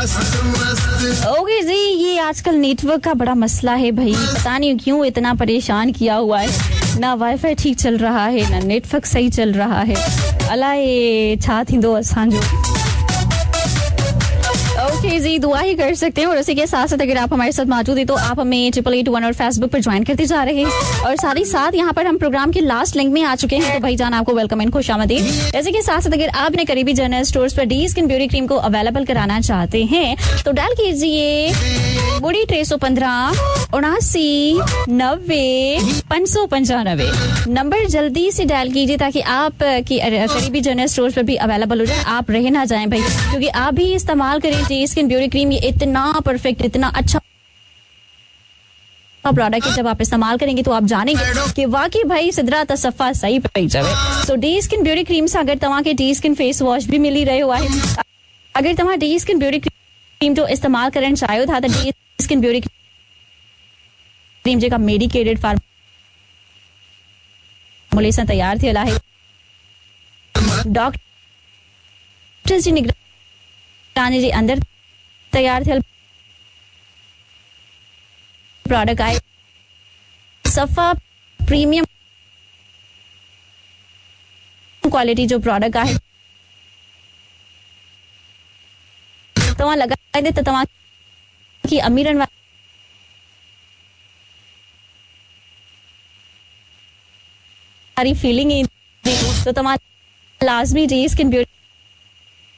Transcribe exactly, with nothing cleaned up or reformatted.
Okay जी, ये आजकल network का बड़ा मसला है भाई, पता नहीं क्यों इतना परेशान किया हुआ है। ना वाईफाई ठीक चल रहा है, ना नेटवर्क सही चल रहा है। अलाए छा थींदो असांजो। ओके जी, दुआ ही कर सकते हैं। और उसी के साथ साथ अगर आप हमारे साथ मौजूद हैं तो आप हमें ट्रिपल एट वन और फेसबुक पर ज्वाइन करते जा रहे हैं। और साथ ही साथ यहाँ पर हम प्रोग्राम के लास्ट लिंक में आ चुके हैं, तो भाई जान आपको welcome and खुशामदीद। ऐसे के साथ साथ अगर आपने करीबी जनरल स्टोर्स पर डी स्किन ब्यूटी क्रीम को अवेलेबल कराना चाहते हैं तो डायल कीजिए बुड़ी टे सौ पंद्रह उनासी नब्बे पाँच सौ पंचानवे नंबर जल्दी से डायल कीजिए ताकि आप की करीबी जनरल स्टोर्स पर भी अवेलेबल हो जाए, आप रह ना जाएं भाई, क्योंकि आप भी इस्तेमाल करें डी स्किन ब्यूटी क्रीम। ये इतना परफेक्ट, इतना अच्छा प्रोडक्ट है, जब आप इस्तेमाल करेंगे तो आप जानेंगे कि वाकई भाई सिदरा तसफ़ा सही पई चवे। सो डी स्किन ब्यूटी क्रीम सां अगर तव्हांखे डी स्किन फेस वॉश भी मिली रहियो आहे, अगर तव्हां डी स्किन ब्यूटी क्रीम जो इस्तेमाल करणु चाहियो था त डी स्किन ब्यूटी क्रीम जेका मेडिकेटेड फार्मूले सां तयारु थियल आहे, डॉक्टर जी निगरानी जे अंदरि तयारु थियल प्रोडक्ट आहे, सफ़ा प्रीमियम क्वालिटी जो प्रोडक्ट आहे। तव्हां लॻाईंदे त तव्हांखे अमीरनि वारी फीलिंग ईंदी। त तव्हां लाज़मी डी स्किन ब्यूटी